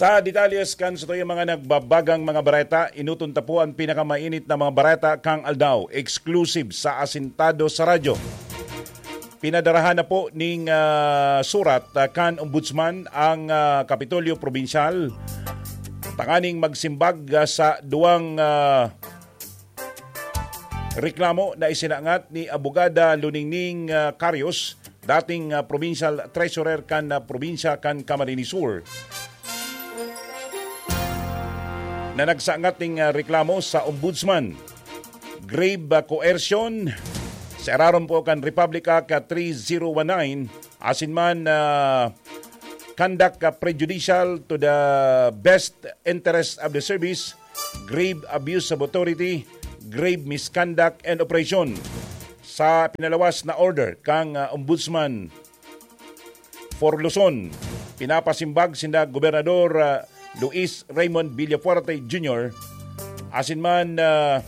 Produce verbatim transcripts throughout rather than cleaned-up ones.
Ta detalles kan satuyang mga nagbabagang mga bareta, inuton ta po an pinakamainit na mga bareta kan aldaw, exclusive sa Asintado sa Radyo. Pinadarahan na po ning, ah, surat, ah, kan Ombudsman ang, ah, Kapitolyo Probinsyal tanganing magsimbag, ah, sa duwang, ah, reklamo na isinangat ni Abogada Luningning, ah, Carios, dating, ah, Provincial Treasurer kan, ah, probinsya kan Camarines Sur, na nagsangat ning, ah, reklamo sa Ombudsman. Grave, ah, coercion, sa irarom po kan Republic Act, ah, three zero one nine, asin man, ah, conduct, ah, prejudicial to the best interest of the service, grave abuse of authority, grave misconduct and oppression. Sa pinalawas na order kang, ah, Ombudsman for Luzon, pinapasimbag sinda Gobernador, ah, Luis Raymond Villafuerte Junior, asin man, ah,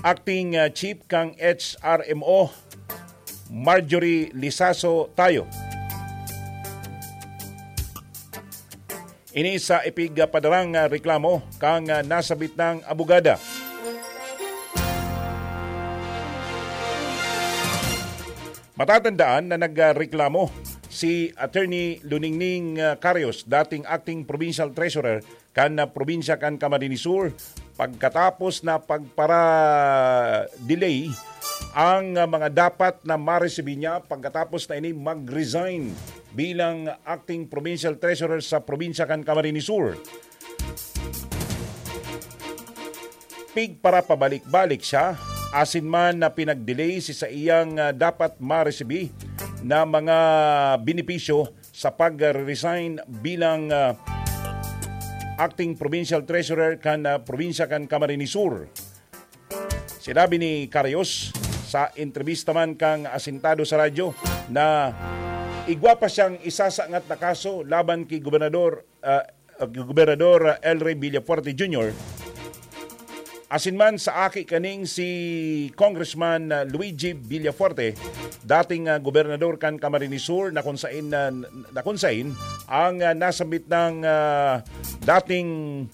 Acting, ah, Chief kang H R M O, Marjorie Lizaso Tayo. Ini sa ipigpadarang, ah, reklamo kang, ah, nasabit nang abogada. Matatandaan na nagreklamo si Attorney Luningning, ah, Carios, dating acting provincial treasurer kan, ah, probinsya kan Camarines Sur, pagkatapos na pagpara-delay ang, ah, mga dapat na maresibi niya pagkatapos na ini mag-resign bilang acting provincial treasurer sa probinsya kan Camarines Sur. Pigparapabalik-balik siya, asin man na pinag-delay si saiyang, ah, dapat maresibi na mga benepisyo sa pag-resign bilang, ah, acting provincial treasurer kan, ah, probinsya kan Camarines Sur. Sinabi ni Carios sa entrebista man kang Asintado sa Radyo na igwa pa siyang isasangat na kaso laban ki Gobernador, ah, Gobernador, ah, El Rey Villafuerte Junior, asin man sa aki kaning si Congressman, ah, Luigi Villafuerte, dating, ah, gobernador kan Camarines Sur, na kung sain, ah, na kung sain ang, ah, nasambit ng, ah, dating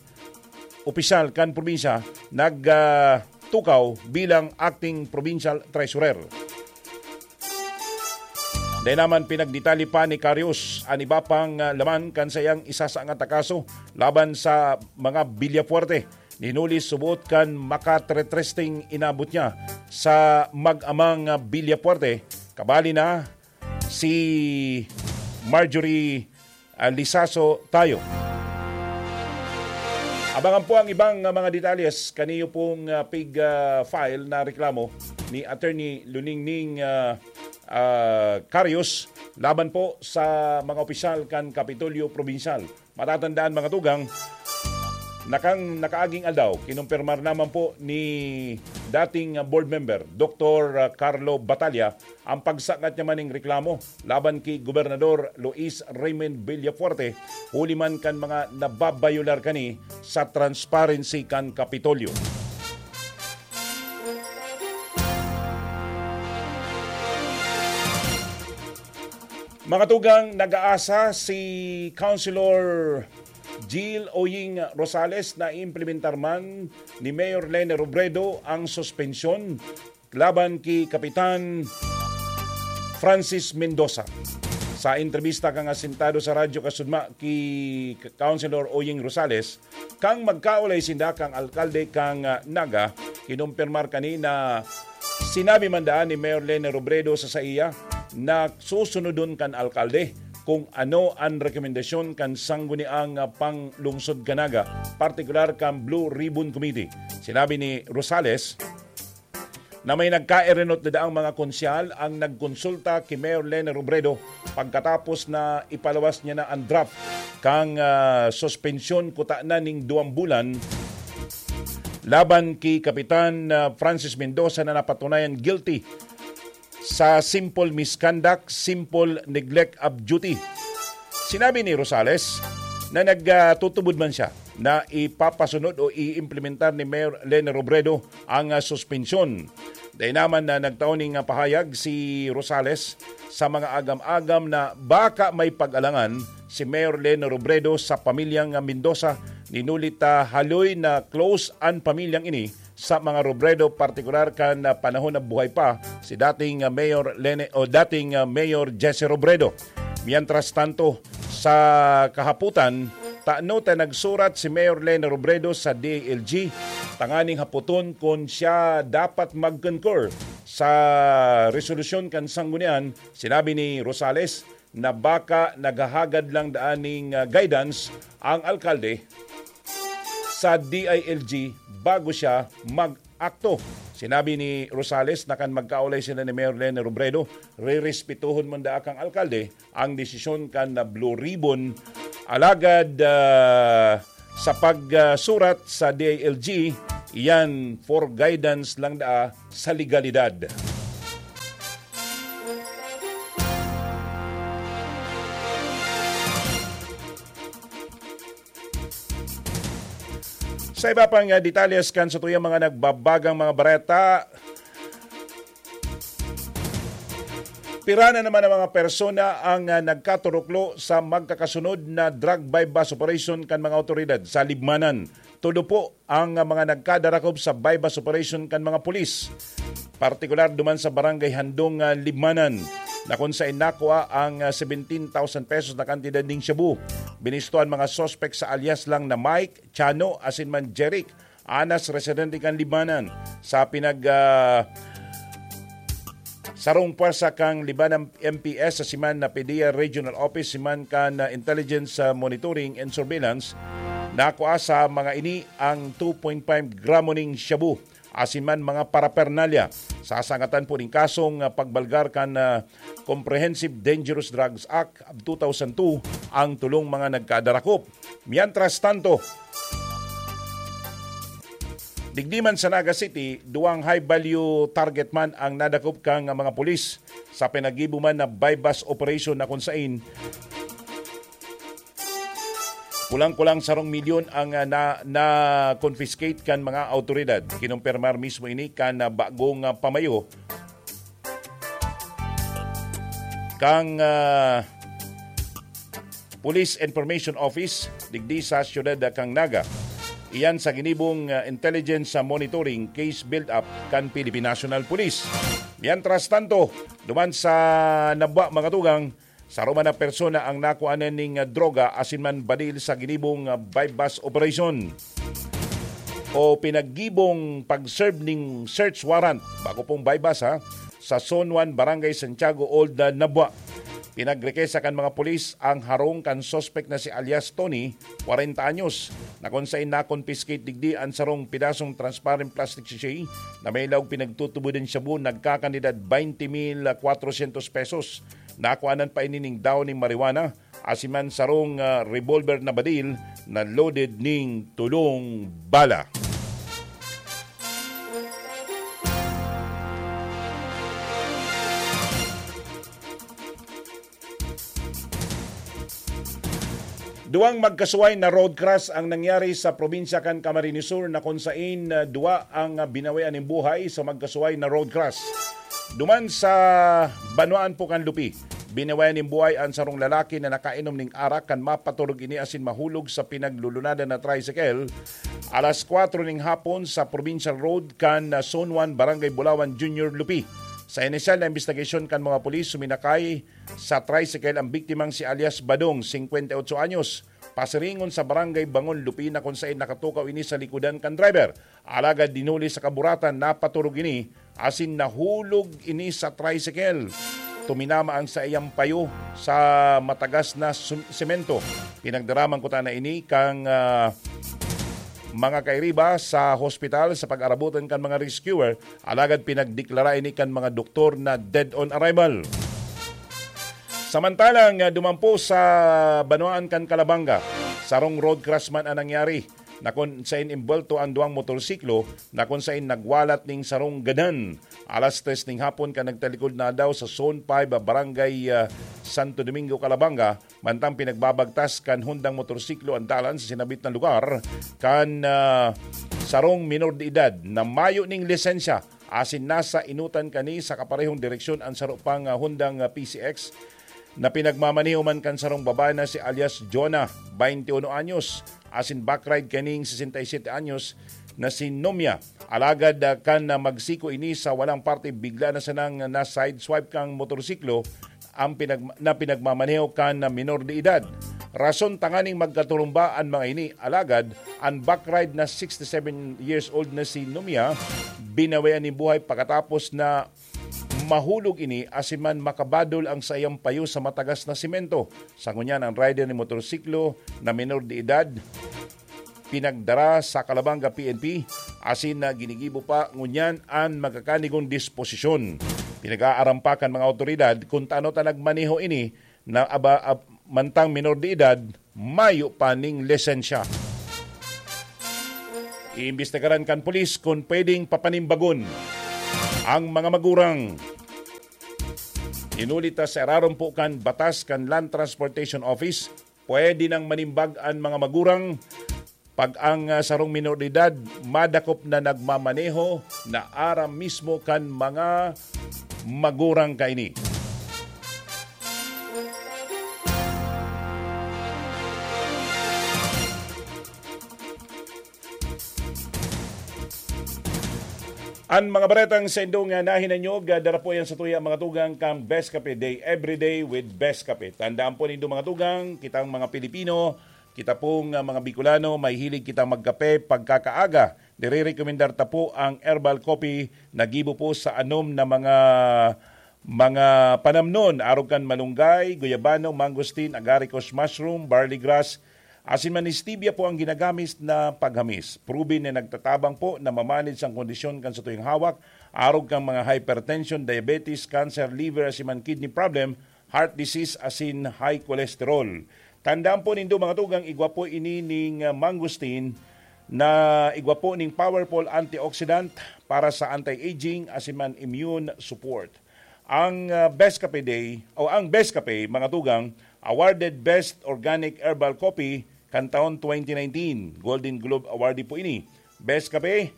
opisyal kan probinsya nag, ah, tukaw bilang acting provincial treasurer. Dai naman pinagdetalye pa ni Carios an iba pang, ah, laman kan saiyang isasangat na kaso laban sa mga Villafuerte. Hinuli subot kan makatretresteng inabot niya sa mag-amang, ah, Villafuerte, kabali na si Marjorie, ah, Lizaso Tayo. Abangan po ang ibang, ah, mga detalles kaniyo pong, ah, pig, ah, file na reklamo ni Attorney Luningning, ah, ah, Carios laban po sa mga opisyal kan Kapitolyo Probinsyal. Matatandaan, mga tugang, nakang nakaaging aldaw, kinumpirmar naman po ni dating board member, Doktor Carlo Batalla, ang pagsangat niya maning reklamo laban ki Gobernador Luis Raymond Villafuerte, huli man kan mga nababayular kani sa transparency kan Kapitolyo. Mga tugang, nag-aasa si Councilor Jill Oying Rosales na implementar man ni Mayor Lene Robredo ang suspensyon laban ki Kapitan Francis Mendoza. Sa entrebista kan Asintado sa Radyo Kasudma ki Councilor Oying Rosales, kan magkaulay sinda kan alkalde kan, ah, Naga, kinumpirmar kani na sinabi man daan ni Mayor Lene Robredo sa saiya na susunodon kan alkalde kung ano an rekomendasyon kan sangguniang, ah, panglungsod kan Naga, partikular kan Blue Ribbon Committee. Sinabi ni Rosales na may nagkaerenot na daang mga konsyal ang nagkonsulta ki Mayor Lene Robredo pagkatapos na ipalawas niya na an draft kan, ah, suspensyon kutana ning duwang bulan laban ki Kapitan, ah, Francis Mendoza na napatunayan guilty sa simple misconduct, simple neglect of duty. Sinabi ni Rosales na nagtutubod man siya na ipapasunod o iimplementar ni Mayor Lene Robredo ang, ah, suspensyon. Dai naman na nagtao ning pahayag si Rosales sa mga agam-agam na baka may pag-alangan si Mayor Leni Robredo sa pamilyang Mendoza. Ninuli ta haloy na close an pamilyang ini sa mga Robredo, partikular kan panahon na buhay pa si dating Mayor Leni o dating Mayor Jesse Robredo. Mientras tanto, sa kahaputan, tano ta nagsurat si Mayor Leni Robredo sa D I L G tanganing hapoton kun siya dapat mag-concur sa resolusyon kan sanggunian. Sinabi ni Rosales na baka naghahagad lang daan ning, ah, guidance ang alkalde sa D I L G bago siya mag-akto. Sinabi ni Rosales na kan magkaulay sila ni Mayor Leni Robredo, rerespetuhon man daa kang alkalde ang desisyon kan, ah, Blue Ribbon. Alagad, ah, sa pagsurat sa D I L G, iyan for guidance lang daa sa legalidad. Sa iba pang, ah, detalles kan satuyang mga nagbabagang mga bareta, pira na naman ang mga persona ang, ah, nagkaturuklo sa magkakasunod na drug buy-bust operation kan mga awtoridad sa Libmanan. Todo po ang, ah, mga nagkadarakob sa buy-bust operation kan mga pulis, partikular duman sa Barangay Handong, ah, Libmanan, na kun saen nakua ang, ah, seventeen thousand pesos na kantidad ning shabu. Binisto an mga suspek sa alias lang na Mike, Chano, asin man Jeric, anas residente kan Libmanan. Sa pinag, ah, sarong pwersa kan Libmanan M P S asin man na PDEA Regional Office asin man kan, ah, Intelligence, ah, Monitoring and Surveillance, nakua sa mga ini ang two point five gramo ning shabu asin man mga parapernalya. Sasangatan po ning kasong, ah, pagbalgar kan, ah, Comprehensive Dangerous Drugs Act of two thousand two ang tolong mga nagkadarakop. Mientras tanto, digdi man sa Naga City, duwang high value target man ang nadakop kan mga pulis sa pinaggibo man na buy-bust operation na kun saen kulang-kulang sarong milyon ang, ah, na, na-confiscate kan mga awtoridad. Kinumpirmar mismo ini kan, ah, bagong, ah, pamayo kan, ah, Police Information Office digdi sa siyudad kan Naga. Iyan sa ginibong, ah, intelligence sa monitoring case build-up kan Philippine National Police. Mientras tanto, duman sa Nabua, mga tugang, saro man na persona ang nakuanan ning, ah, droga asin man badil sa ginibong, ah, buy-bust operation o pinaggibong pag-serve ning search warrant, bako pong buy-bust, ha, sa Zone one, Barangay Santiago Old, ah, Nabua. Pinagrikesa kan mga pulis ang harong kan suspek na si alias Tony, kwarenta anyos, na kun saen na-confiscate digdi an sarong pidasong transparent plastic sachet na may laog pinagtutubod nin shabu nagkakantidad twenty mil kwatrosyentos pesos. Nakuanan pa ini nin dahon nin marijuana, asin man sarong, ah, revolver na badil na loaded ning tolong bala. Duwang magkasuway na road crash ang nangyari sa probinsya kan Camarines Sur, na kun saen, ah, duwa ang, ah, binawian nin buhay sa magkasuway na road crash. Duman sa banwaan po kan Lupi, binawian nin buhay an sarong lalaki na nakainom nin arak kan mapaturog ini asin mahulog sa pinaglulunadan na tricycle alas kwatro nin hapon sa Provincial Road kan, ah, Zone one, Barangay Bulawan, Junior Lupi. Sa inisyal na imbestigasyon kan mga pulis, suminakay sa tricycle ang biktimang si alias Badong, singkwenta y otso anyos, pasiringon sa Barangay Bangon, Lupi, na kun saen nakatukaw ini sa likodan kan driver. Alagad dinuli sa kaburatan, napaturog ini asin nahulog ini sa tricycle. Tuminama ang saiyang payo sa matagas na sum-, semento. Pinagdaraman kuta na ini kan, ah, mga kairiba sa hospital sa pag-arabotan kan mga rescuer, alagad pinagdeklara ini kan mga doktor na dead on arrival. Samantalang, ah, duman po sa banwaan kan Calabanga, sarong road crash man ang nangyari, na kun saen embuwelto ang duwang motorsiklo, na kun saen nagwalat ning sarong gadan alas tres ning hapon kan nagtalikod na aldaw sa Zone five, ah, Barangay, ah, Santo Domingo, Calabanga, mantang pinagbabagtas kan Hondang motorsiklo ang dalan sa sinabit na lugar kan, ah, sarong minor de edad na mayo ning lisensya asin nasa inutan kani sa kaparehong direksyon an saro pang, ah, Hondang, ah, P C X na pinagmamaneho man kan sarong babae na si alias Jonah, twenty-one anyos, asin backride kaning sesenta y siyete anyos na si Nomia. Alagad, ah, kan, ah, magsiko ini sa walang parte, bigla na sanang na-sideswipe kang motorsiklo ang pinag-, na pinagmamaneho kan minor de edad. Rason tanganing magkaturumba an mga ini, alagad an backride na sixty-seven years old na si Nomia, binawian nin buhay pagkatapos na mahulog ini asin man makabadol ang saiyang payo sa matagas na semento. Sa ngunyan, ang rider ni motorsiklo na minor de edad pinagdara sa Calabanga P N P, asin na ginigibo pa ngunyan an magkakanigong disposisyon. Pinag-aaram pa kan mga awtoridad kun tano ta nagmaneho ini na aba, ab-, mantang minor de edad, mayo pa ning lisensya. Iimbestigaran kan pulis kun pwedeng papanimbagon ang mga magurang. Inulit ta sa irarom po kan batas kan Land Transportation Office, pwede nang manimbag an mga magurang pag ang, ah, sarong minor de edad madakop na nagmamaneho na aram mismo kan mga magurang kaini. An mga baretang sa indong, ah, nahinanyog, ah, dara po yan sa tuya, mga tugang, kang Best Kape Day, everyday with Best Kape. Tandaan po nindo, mga tugang, kitang mga Pilipino, kita pong, ah, mga Bicolano, mahilig kitang magkape pagkakaaga. Nirerekomendar ta po ang herbal coffee na gibo po sa anom na mga, mga panamnon, arog kan malunggay, guyabano, mangosteen, agaricus mushroom, barley grass, asin man stevia po ang ginagamit na paghamis. Proven na nagtatabang po na mamanid sang kondisyon kan satuyang hawak, arog kan mga hypertension, diabetes, cancer, liver, asin man kidney problem, heart disease, asin high cholesterol. Tandaan po nindo, mga tugang, igwa po ini ning, ah, mangosteen na igwa po ning powerful antioxidant para sa anti-aging asin man immune support. Ang, ah, Best Kape Day o ang Best Kape, mga tugang, awarded Best Organic Herbal Coffee kan taon twenty nineteen. Golden Globe Awardee po ini. Best Kape,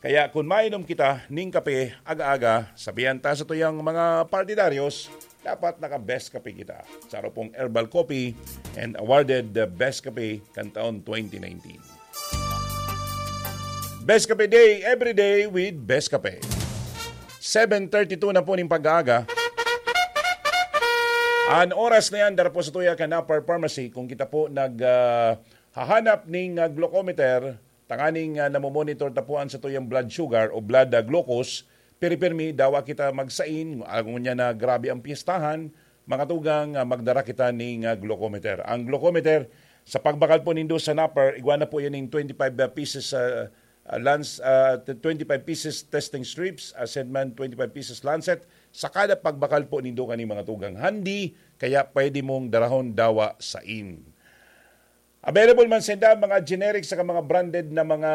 kaya kun mainom kita ning kape aga-aga, sabihan ta sa tuyang mga partidaryos, dapat naka-Best Kape kita. Saro pong herbal coffee and awarded the Best Kape kan taon twenty nineteen. Best Kape Day, every day with Best Kape. Seven thirty-two na po ning pag-aaga. An oras na yan, dara po sa tuya kan Upper Pharmacy. Kung kita po nag, ah, hahanap ning, ah, glucometer, tanganing, ah, namomonitor ta po an satuyang blood sugar o blood, ah, glucose, pirmi-pirmi, dawa kita magsain, ngunyan na grabe ang piyestahan, mga tugang, ah, magdara kita ning, ah, glucometer. Ang glucometer, sa pagbakal po nindo sa napper, igwa na po yan ning twenty-five pieces, ah, ah, lance, ah, t-, twenty-five pieces testing strips, ah, asin man twenty-five pieces lancet, sa kada pagbakal po nindo kani, mga tugang. Handi, kaya pwede mong darahon dawa sain. Available man sinda mga generic saka mga branded na mga,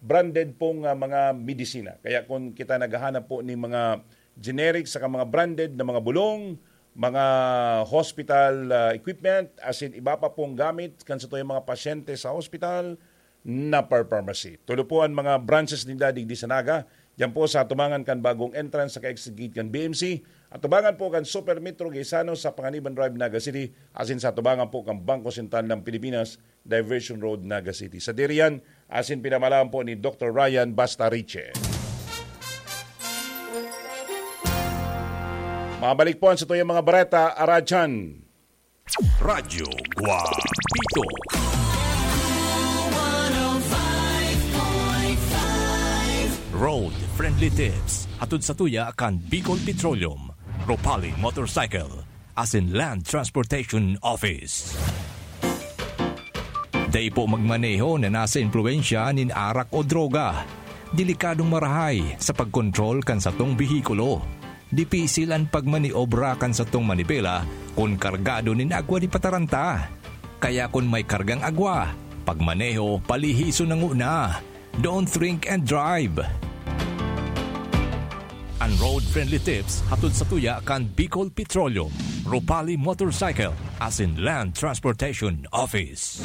branded pong, ah, mga medisina. Kaya kung kita naghahanap po ni mga generic saka mga branded na mga bulong, mga hospital, ah, equipment, asin iba pa pong gamit kan satuyang mga pasyente sa hospital, Napar Pharmacy. Tulo po an mga branches ninda digdi sa Naga. Diyan po sa atubangan kan bagong entrance sa ka-exit gate kan B M C. Atubangan po kan Super Metro Gaisano sa Panganiban Drive, Naga City. Asin sa atubangan po kan Bangko Sentral ng Pilipinas, Diversion Road, Naga City. Sa diriyan, asin pinamalaan po ni Doktor Ryan Bastariche. Mabalik po ang satuyang mga bareta, Aradyan. Radyo Guapito. Road Friendly Tips. Hatod sa tuya kan Bicol Petroleum, Ropali Motorcycle, asin Land Transportation Office. Dai po magmaneho na nasa impluwensya nin arak o droga. Delikadong marahay sa pagkontrol kan satong behikulo. Dipisil an pagmaniobra kan satong manibela kun kargado nin agwa di pataranta. Kaya kun may kargang agwa, pagmaneho, palihison na ngona. Don't drink and drive. An Road Friendly Tips hatod sa tuya kan Bicol Petroleum, Ropali Motorcycle, asin Land Transportation Office.